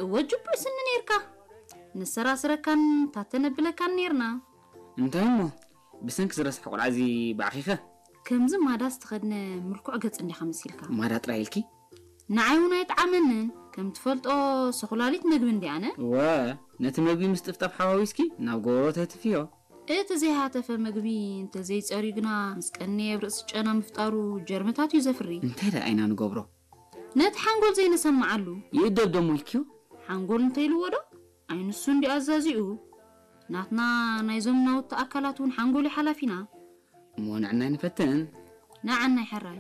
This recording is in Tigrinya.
እወ ጅቡይ ስኒ ነይርካ። ንሰራስረካን ታተነብለካን ነይርና። እንታይ እሞ ብሰንኪ ዝረስሐ ቆልዓ እዚ ባዕኺኸ? ከምዚ ማዳ ዝተኸድነ ምልኩዕ ገጽ እንዲኻ መሲልካ። ማዳ ጥራይ ኢልኪ? ንዓይ እውን ኣይጠዓመንን። ከም ትፈልጦ ሰኹላሊት መግቢ እንዲኣነ። እወ፣ ነቲ መግቢ ምስ ጥፍጣፍ ሓዋዊስኪ ናብ ጎቦ ተትፍዮ። እቲ ዘይሃተፈ መግቢ እንተዘይጸርዩ ግና ምስ ቀነየ ኣብ ርእሲ ጨና ምፍጣሩ ጀርምታት እዩ ዘፍሪ። እንታይ ደኣ ኢና ንገብሮ? ነቲ ሓንጎል ዘይነሰምዓሉ። ይእደብ ደሞ ኢልክዮ? ሓንጎል እንተይልዎ ዶ? ኣይንሱ እንዲ ኣዛዚኡ። ናትና ናይዞም ናውቲ ኣካላት እውን ሓንጎል እዩ ሓላፊና። እሞ ንዕናይ ንፈትን። ንዓናይ ሕራይ።